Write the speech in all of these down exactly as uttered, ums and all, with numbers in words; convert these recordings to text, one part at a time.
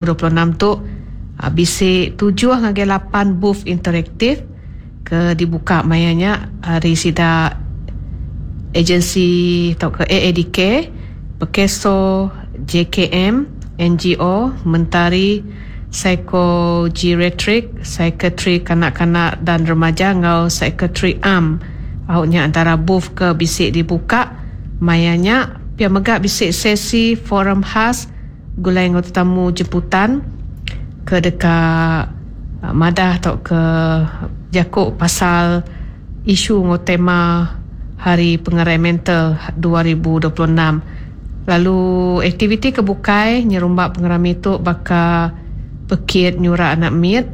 dua puluh enam tu bisi tujuh ngagai lapan booth interaktif ke dibuka maya nya ari sida agensi tauka A A D K, Pekeso, J K M, N G O, Mentari, Psikogeriatrik, Psikiatri Kanak-kanak dan Remaja enggau Psikiatri Am. Au nya antara booth ke bisi dibuka maya nya. Pia mega bisi sesi forum khas gulai enggau tetamu jemputan ke deka madah atau ke jaku pasal isu enggau tema Hari Pengerai Mental dua ribu dua puluh enam. Lalu aktiviti ke bukai nyerumbak pengerami tu baka pekit nyurak anak mit,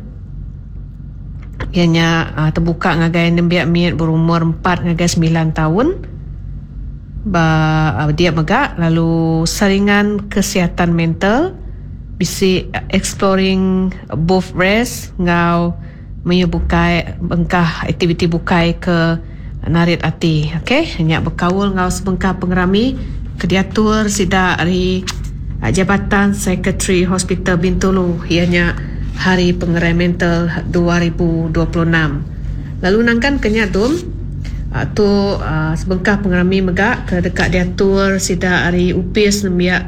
ianya terbuka ngagai nembiak mit berumur empat ngagai sembilan tahun. Ba dia mega lalu saringan kesihatan mental, bisi exploring booth race enggau meyu bukai bengkah aktiviti bukai ke narit ati. Okey, nya bekaul enggau sebengkah pengerami ke diatur sida ari Jabatan Sekretari Hospital Bintulu, ianya Hari Pengerai Mental dua ribu dua puluh enam. Lalu nangkan ke nya tu, tu sebengkah pengerami mega ke dekat diatur sida ari Upis Nembiak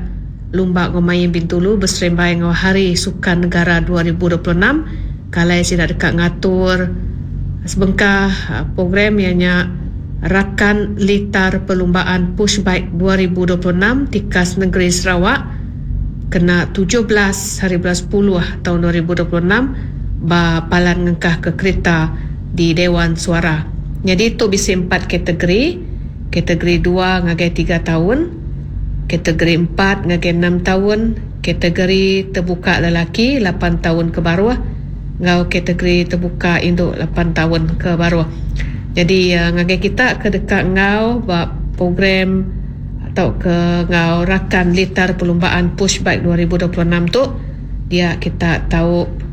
Lumba Ngau Main Bintulu berserembai ngau Hari Sukan Negara dua ribu dua puluh enam. Kalai sida dekat ngatur sebengkah program ianya Rakan Litar Perlumbaan Push Bike dua ribu dua puluh enam Tikas Negeri Sarawak kena tujuh belas hari bulan sepuluh tahun dua ribu dua puluh enam ba Palan Ngengkah ke Kereta di Dewan Suara. Jadi tu bisi empat kategori, kategori dua ngagai tiga tahun, kategori empat ngagai enam tahun, kategori terbuka lelaki lapan tahun ke baruh, ngau kategori terbuka induk lapan tahun ke baruh. Jadi ngagai kita ke dekat ngau ba program atau ke ngau Rakan Litar Perlumbaan Push Bike dua ribu dua puluh enam tu, dia kita tahu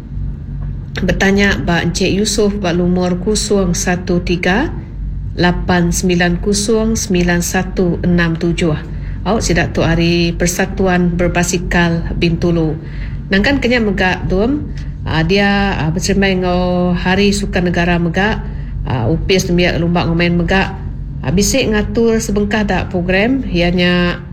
bertanya ba Encik Yusof ba lumur kosong satu tiga lapan sembilan kosong sembilan satu enam tujuh. Au sidak tu hari Persatuan Berbasikal Bintulu. Nangkan kenya mega dum dia berserembai ngau Hari Sukan Negara mega, Upis Nembiak Lumba Ngau Main mega bisi ngatur sebengkah dak program ianya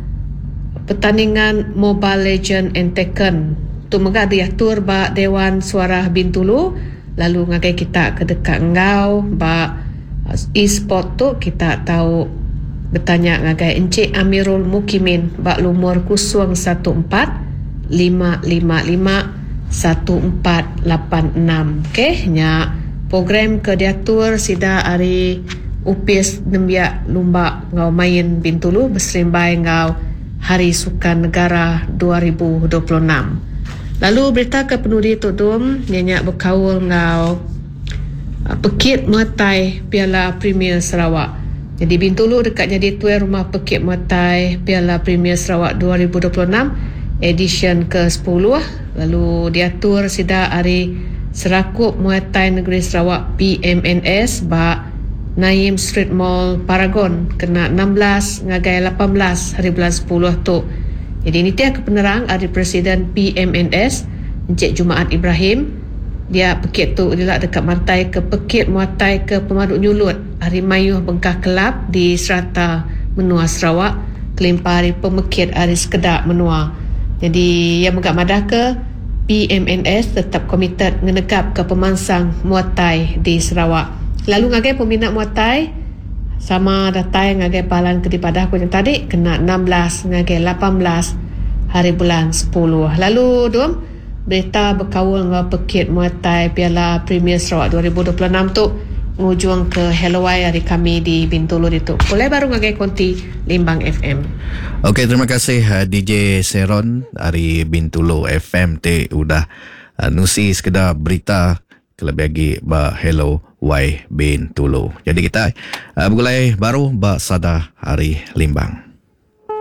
pertandingan Mobile Legend and Tekken. Tu mega diatur ba Dewan Suara Bintulu. Lalu ngagai kita ke dekat ngau ba e-sport tu, kita tahu bertanya ngagai Encik Amirul Mukimin ba lumur kosong satu empat lima lima lima satu empat lapan enam. Okey, nya program ke diatur sida ari Upis Nembiak Lumba Ngau Main Bintulu berserimbai ngau Hari Sukan Negara dua ribu dua puluh enam. Lalu berita ke penudi tu dum nya berkaul ngau Pekit Muay Piala Premier Sarawak. Jadi Bintulu dekat jadi tuan rumah Pekit Muay Piala Premier Sarawak dua ribu dua puluh enam edition ke sepuluh. Lalu diatur sida ari Serakup Muay Thai Negeri Sarawak P M N S ba Naim Street Mall Paragon kena enam belas ngagai lapan belas hari bulan sepuluh tu. Jadi ini tiap kepenerang ari Presiden P M N S Encik Jumaat Ibrahim. Dia pekit tu dia dekat mantai ke Pekit Muay Thai ke Pemaduk Nyulut hari Mayuh Bengkah Kelab di serata menua Sarawak kelimpah hari pemekit hari sekedak menua. Jadi yang megak madah ke P M N S tetap komited ngenegap ke pemansang Muay Thai di Sarawak. Lalu ngagai peminat Muay Thai sama datai ngagai palan ke dipadah aku yang tadi kena enam belas ngagai lapan belas hari bulan sepuluh. Lalu dum berita berkaul dengan Pekit Muay Thai Piala Premier Sarawak dua ribu dua puluh enam tu ngujung ke Hello Y hari kami di Bintulu itu. Boleh baru ngagai konti Limbang F M. Okey, terima kasih D J Seron dari Bintulu F M te udah uh, nusi sekedar berita kelebih lagi ba Hello Y Bintulu. Jadi kita uh, bergulai baru ba Sada Hari Limbang.